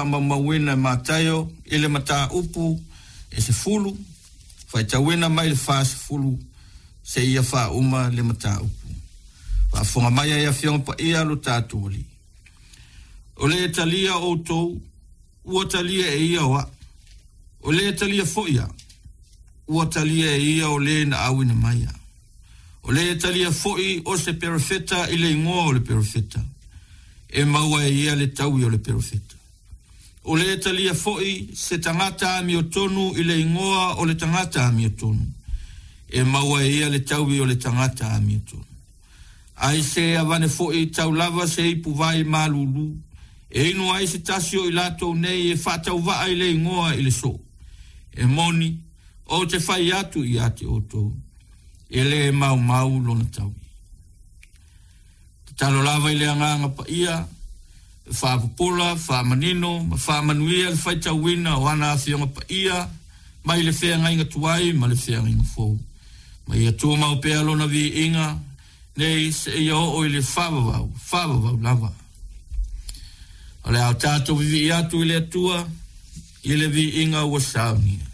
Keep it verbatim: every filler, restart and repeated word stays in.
faamaumauina e Mataio i le mataupu e sefulu, faitauina mai le fasefulu seia faauma le mataupu. Faafofoga mai ai Afioga Paia lo tatou Alii. O le talia outou, ua talia e ia o a'u. O le talia foi a'u, ua talia e ia o le na auina mai a'u. O le talia foi o se perofeta i le igoa o le perofeta, e maua e ia le taui o le perofeta. O le talia foi se tagata amiotonu i le igoa o le tagata amiotonu, e maua e ia le taui o le tagata amiotonu. Ai se avane foi tau lava se ipu vai malulu, e inu ai se tasi o i latou nei e faatauvaa i le igoa i le soo. E moni, ou te fai atu ia te outou, e le maumau lona taui. Tatalo lava i le Agaga Paia, e faapopola, faamanino, ma faamanuia le faitauina o ana afioga paia, mai le feagaiga tuai ma le feagaiga fou. Ma ia tumau pea lona viiga, nei seia oo i le faavavau, faavavau lava. O le a tatou vivii atu i le Atua, i le viiga ua saunia.